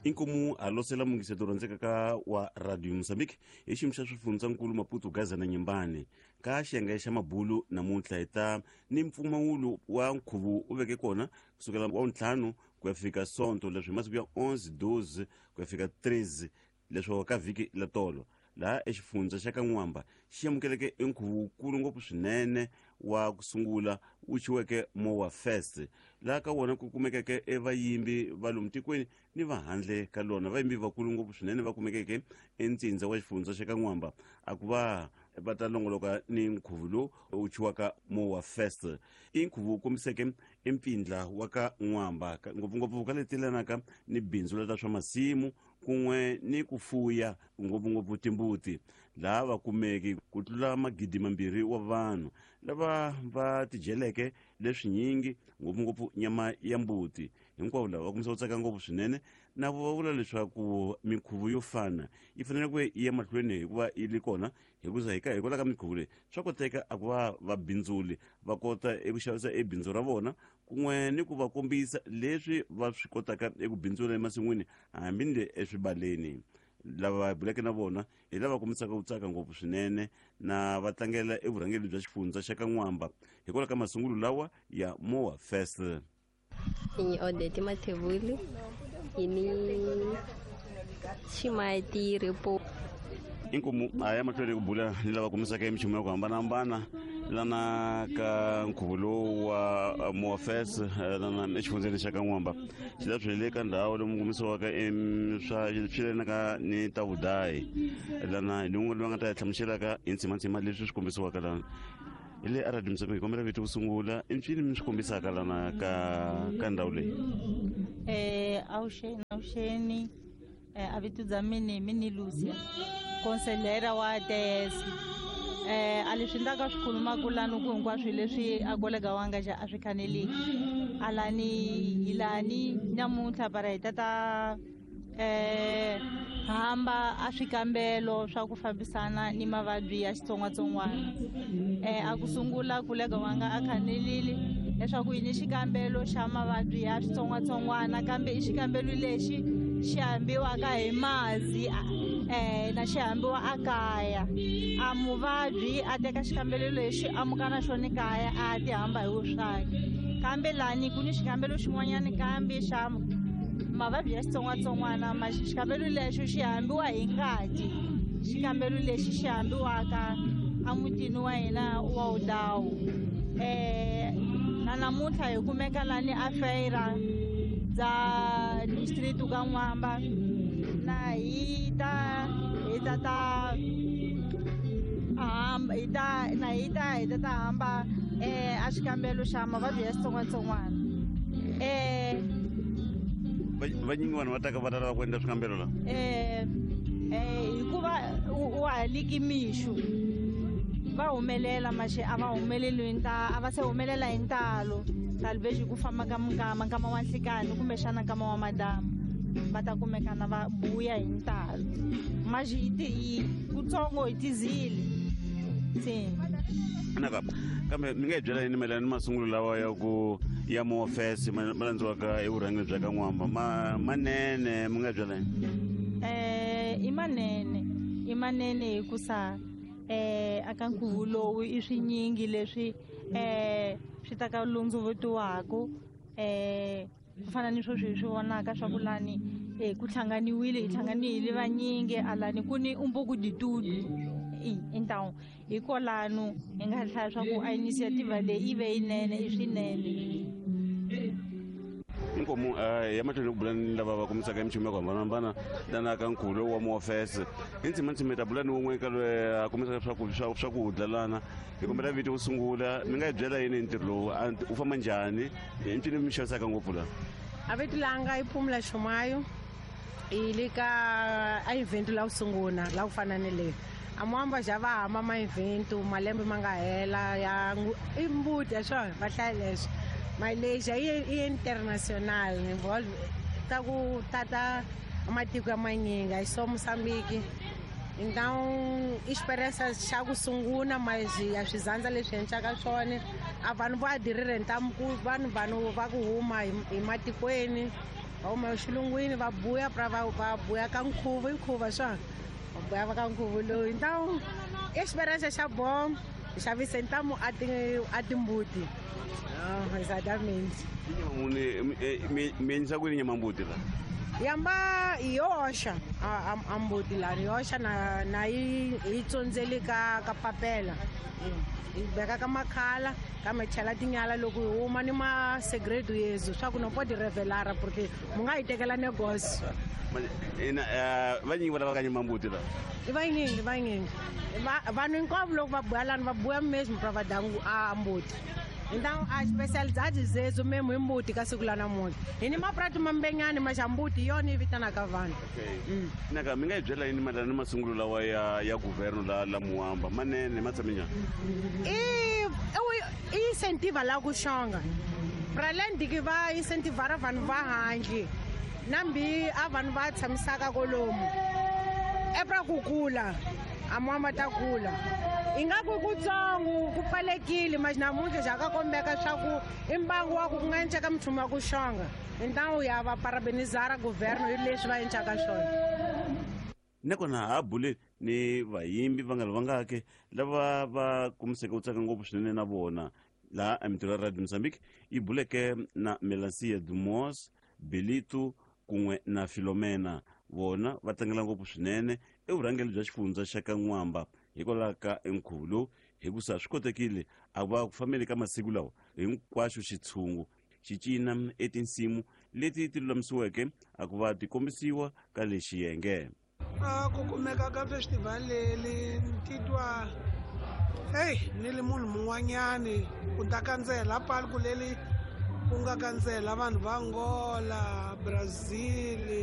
Inkomu a losela mungiseto rhandzekaka wa Radio Mozambique hi xiyimo xa swifundzankulu Maputo, Gaza na Nyembane. Ka xiyenge xa mabulu namuntlha hi ta ni mpfumawulo wa nkhuvo u veke kona kusukela wa ntlhanu ku ya fika sonto, leswi hi masiku ya 11, 12 ku ya fika 13 leswo ka vhiki la tolo, laha exifundza xa ka N'wamba xi amukeleke enkhuvo wukulu ngopfu swinene wa ku sungula wu chiweke Mowa Fest, laha ka wona ku kumekeke evayimbi va lomu tikweni ni va handle ka lona. Vayimbi vakulu ngopfu swinene va kumekeke entsindza wa xifundza xa ka N'wamba a ku va va ta longoloka ni nkhuvo lowu wu chiwaka Mowa Fest. I nkhuvo wu kombiseke empfindla wa ka N'wamba, ngopfungopfu ka leti yelanaka ni bindzu la ta swa masimu kun'we ni ku fuya ngopfungopfu timbuti, laha va kumeki ku tlula 2,000 wa vanhu lava va tidyeleke leswinyingi, ngopfungopfu nyama ya mbuti. Hinkwavo lava va kumisa ku tsaka ngopfu swinene, na vo va vula leswaku minkhuvo yo fana yi fanele ku yi ya mahlweni hikuva yi ri kona, hikuza hikwalaho ka minkhuvo leyi swa koteka a ku va vabindzuli va kota eku xavisa ebindzu ra vona kun'we ni ku va kombisa leswi va swi kotaka eku bindzula emasin'wini hambi ni le eswibaleni. Lava va buleke na vona hi lava kombisaka ku tsaka ngopfu swinene na va tlangela evurhangeri bya xifundza xa ka N'wamba hikwalaho ka masungulo lawa ya Mowa Fest. Ni Odete Mathevuli, ini Chimati Repo. Inkomu a ya mahlweni ku bula ni lava kumisaka emichumu ya ku hambanahambana lana ka nkhuvo lowu wa Mowa Fest lana exifundzeni xa ka N'wamba. Xi la swi le ka ndhawu lomu kumisiwaka swa swi lelanaka ni ta vudayi lana, hi lun'we loyi nga ta hi hlamuselaka hi ntsimantsima leswi swi kombisiwaka lana hi le aradio Mozambique. Hi kombela vito ku sungula, i mpfini mi swi kombisaka lana ka ndhawu leyi? Avuxeni, avuxeni. A vito bya mini mini Lucia, conselheira wa ATS. A leswi ni ta ka swi khulumaka lani ku hinkwaswo leswi a kolega wanga xa a swi khaneliki alani hi lani namuntlha para hi tata hamba a swikambelo swa ku fambisana ni mavabyi ya xitsongwatsongwana. A ku sungula kolega wanga a khanelile leswaku yi ni xikambelo xa mavabyi ya xitsongwatsongwana, kambe i xikambelo lexi xi hambiwaka hi mazi na xi hambiwa a kaya. A muvabyi a teka xikambelo lexi a muka na xona kaya, a ti hamba hi wuswake. Kambe lani ku ni xikambelo xin'wanyana kambe xa mavabyi ya xitsongwatsongwana, ma xikambelo lexo xi hambiwa hi ngati, xikambelo lexi xi hambiwaka emutini wa hina wa Udawu. Na namuntlha hi kumeka lani a feira bya district ka N'wamba, na hi ta ta hamba hi ta na hi ta hamba a xikambelo xa mavabyi ya xitsongwatsongwana. Vanyingi vanhu va taka va ta lava ku endla swikambelo la? Hikuva wa ha liki mixo va humelela maxe a va humeleli hi nta a va se humelela hi ntalo, talvez hi ku famba ka minkama, nkama wa nhlikani kumbexana nkama wa madamu, va ta kumekana va buya hi ntalo. Maxi hi kutsongo hi tizile se. Naka kambe mi nga hi byela yini mayelana ni masungulo lawa ya ku ya Mowa Fest ma landziwaka evurhangeni bya ka N'wamba? Ma manene, mi nga hi byela yini? I manene, i manene, hikusa aka nkhuvo lowu i swinyingi leswi swi ta ka lundzuvutiwaku, ku fana ni sweswi hi swi vonaka swa ku lani ku hlanganiwile, hi hlanganile vanyingi alani, ku ni um pouco de tudo. Então hikwalano hi nga hlaya swa ku a inisiyativa leyi yi ve yinene, i swinene. Inkomu ya mahlweni ku bula ni lava va kumisaka emichumu ya ku hambanahambana lana ka nkhuvo lowu wa Mowa Fest. Hi ntsimantsima hi ta bula ni wun'we ka loyi a kumisaka swakudya lana. Hi kombela vito wo sungula, mi nga hi byela yini hi ntirho lowu, wu famba njhani, i ncini mi xavisaka ngopfu laha? A vito langa i Phumula Chumayo. Hi le ka a event la ku sungula la ku fana ni leyi a muhamba ja va hamba ma event malembe ma nga hela ya i mbuti ya swona va hlaya leswi Malaysia i international involve ta ku tata matiko ya manyingi, a so Mozambique. Então experiência xa ku sungula, mas ya swizandza leswi endlaka swona a vanhu va adirire ntamu ku vanhu va ku huma hi matikweni. Va huma xilungwini va buya pra va buya ka nkhuvo, i nkhuvo swona. Va buya ka nkhuvo lowu. Então, experiência xa bom, xavise ntamu a timbuti. Ah, exatamente. Mi endlisa ku yini nyama mbuti la? Yamba yoxa a mbuti la yoxa na yi tsondzeli ka papela. Yi veka ka makhala, ka mi chela tinyala loko hi huma ni ma segredo yezu swa ku no pode revelar porque mu nga yi tekela negócio. Ina vanyingi va lava ka nyama mbuti la? I vanyingi, vanyingi. Vanhu hinkwavo loko va buya lani va buya mesmo pra va dya a mbuti. Então a especialidade zezu mesmo i mbuti ka siku la namuntlha. Hi ni maprato mambenyani ma xa mbuti hi yona yi vitanaka vanhu. Okay. Naka mi nga hi byela yini mayelana ni masungulo lawa ya governo la Muamba manene ma tshame njhani? I incentiva la ku xonga. Pra além de que va incentivar vanhu va handle, nambi a vanhu va tshamisaka kolomu. É pra ku kula, a Muamba ta kula. Ingaku kutsongo ku pfalekile mas namuntlha xa ka kombeka swa ku i mbangu wa ku ku nga enceka minchumu ya ku xonga. Então ya va parabenizar governo hi leswi va encaka swona. Nakona ha bule ni vayimbi va nga ri vangaki lava va kumiseke ku tsaka ngopfu swinene na vona laha emintirho ya Radio Mozambique yi buleke na Melancia Dumos, Belito kun'we na Filomena. Vona va tlangela ngopfu swinene evurhangeri bya xifundza xa ka N'wamba hikwalaho ka nkhuvo lowu, hikusa swi kotekile a va ku fambeni ka masiku lawa hinkwaxo xitshungu xi cina etinsimu leti ti lulamisiweke a ku va ti kombisiwa ka le xiyenge. Ku kumeka ka festival leri ni titwa hey ni li munhu mun'wanyani ku ta kandzela palku leri ku nga kandzela vanhu va Angola, Brazil,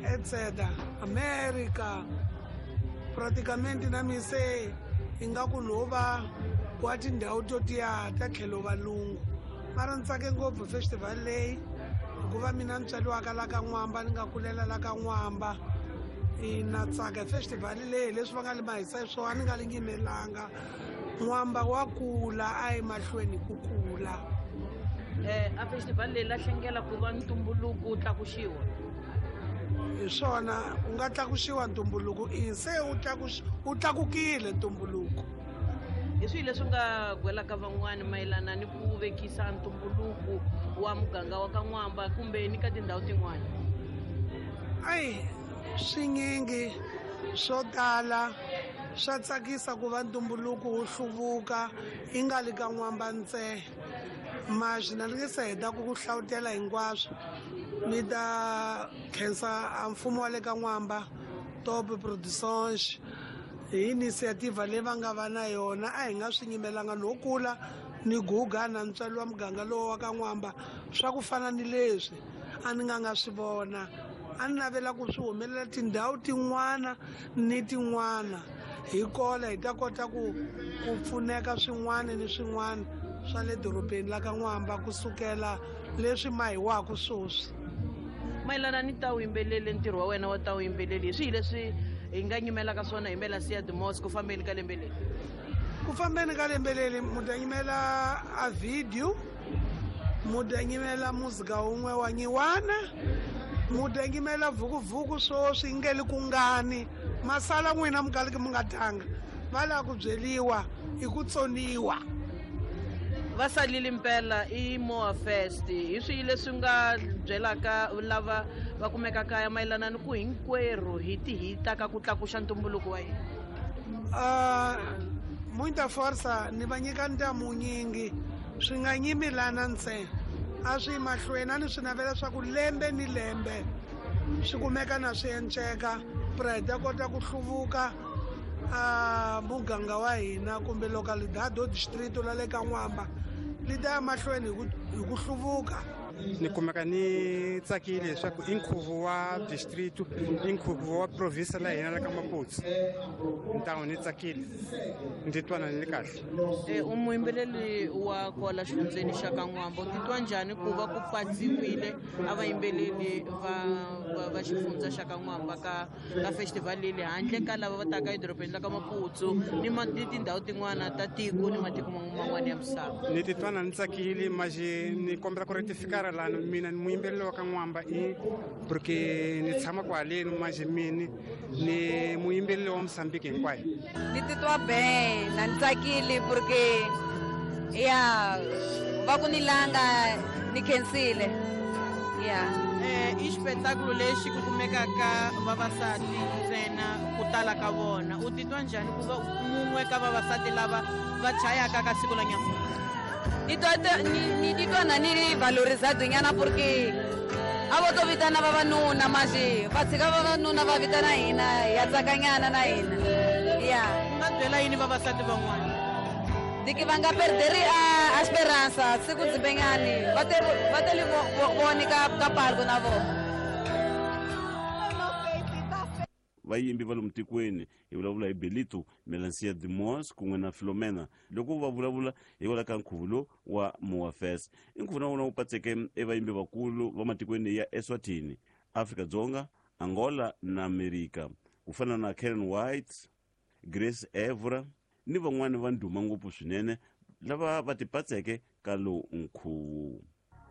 etc., America. Praticamente na mi se ingaku no va kwa tindhawu to tiya ta tlhelo valungu. Mara ni tsake ngopfu festival leyi hikuva mina ni tswariwaka la ka N'wamba, ni nga kulela la ka N'wamba. Na tsaka festival leyi leswi va nga li mahisa swona ni nga li nyimelanga. N'wamba wa kula a yi mahlweni ku kula. A festival leyi la hlengela ku va ntumbuluko wu tlakuxiwa. Hi swona u nga tlakuxiwa ntumbuluko, i se wu tlakukile ntumbuluko. Hi swihi leswi nga gwelaka van'wani mayelana ni ku vekisa ntumbuluko wa muganga wa ka N'wamba kumbe ni ka tindhawu tin'wani? Ayi, swinyingi swo tala swa tsakisa ku va ntumbuluko wu hluvuka yi nga li ka N'wamba ntsena. Mas na ni nge se heta ku hlawutela hinkwaswo. Ni ta khensa a mfumo wa le ka N'wamba, Top Productions, hi inisiyativa leyi va nga va na yona. A hi nga swi nyimelanga no kula ni guga na ntswalo wa muganga lowu wa ka N'wamba swa ku fana ni leswi a ni nga swi vona. A ni navela ku swi humelela tindhawu tin'wana ni tin'wana hi kola hi ta kota ku pfuneka swin'wana ni swin'wana swa le dorobeni la ka N'wamba kusukela leswi mahiwaka sweswi. Mayelana ni ta vuyimbeleli, ntirho wa wena wa ta vuyimbeleli hi swihi leswi hi nga nyimelaka swona hi Melancia Dumos ku fambeni ka lembe leri? Ku fambeni ka lembe leri mu ta nyimela a video, mu ta nyimela muzika wun'we wa nyiwana, mu ta nyimela vukuvuku sweswi yi nge li kungani. Masala n'wina mi kaliki mi nga tanga, va lava ku byeriwa i ku tsoniwa. Va salile mpela i Moa Fest. Hi swihi leswi nga byelaka lava va kumekaka kaya mayelana ni ku hinkwerhu hi ti hita ka ku tlakuxa ntumbuluko wa hina? Muita força ni va nyika ntamu nyingi, swi nga nyimi lana ntsena, a swi mahlweni. A ni swi navela swa ku lembe ni lembe swi kumeka na swi enceka pra hi ta kota ku hluvuka a muganga wa hina kumbe localidade o distrito la le ka N'wamba li ta ya mahlweni hi ku hluvuka. Ni kumeka ni tsakile leswaku i nkhuvo wa district, i nkhuvo wa province la hina la ka Maputo. Ntamu ni tsakile, ni titwa ni kahle. U muyimbeleli wa kwala xifundzeni xa ka N'wamba, u titwa njhani ku va ku patsiwile a vayimbeleli va xifundza xa ka N'wamba ka festival leyi handle ka lava va taka edorobeni la ka Maputo ni tindhawu tin'wana ta tiko ni matiko man'wana ya misava? Ni titwa ni tsakile, mas ni kombela ku rectificar Cara lani mina ni muyimbeleri wa ka N'wamba i porque ni tshama kwaleni manje mini ni muyimbeleri wa Mosambiki hinkwayo. Ni titwa ben na ni tsakile porque ya va ku ni langa ni khensile ya. I xipetakulu lexi ku kumekaka vavasati ntsena ku tala ka vona. U titwa njhani ku va mun'we ka vavasati lava va chayaka ka siku la nyamuntlha? Ni titwa na ni ri valorizado nyana porque a vo to vitana vavanuna manje va tshika vavanuna va vitana hina ya tsakanyana na hina ya. U nga byela yini vavasati van'wana? Diki va nga perderi a esperança siku dzimbenyani va teli voni ka palco na vona. Vayimbi va lomu tikweni hi vulavula hi Belito Melancia Dimos kun'we na Filomena loko va vulavula hikwalaho ka nkhuvo lowu wa Moafes. I nkhuvo na wona wu patseke evayimbi vakulu va matikweni ya Eswatini, Afrika-Dzonga, Angola na Amerika ku fana na Karen White, Grace Evora ni van'wani va ndhuma ngopfu swinene lava va tipatseke ka lowu nkhuvo.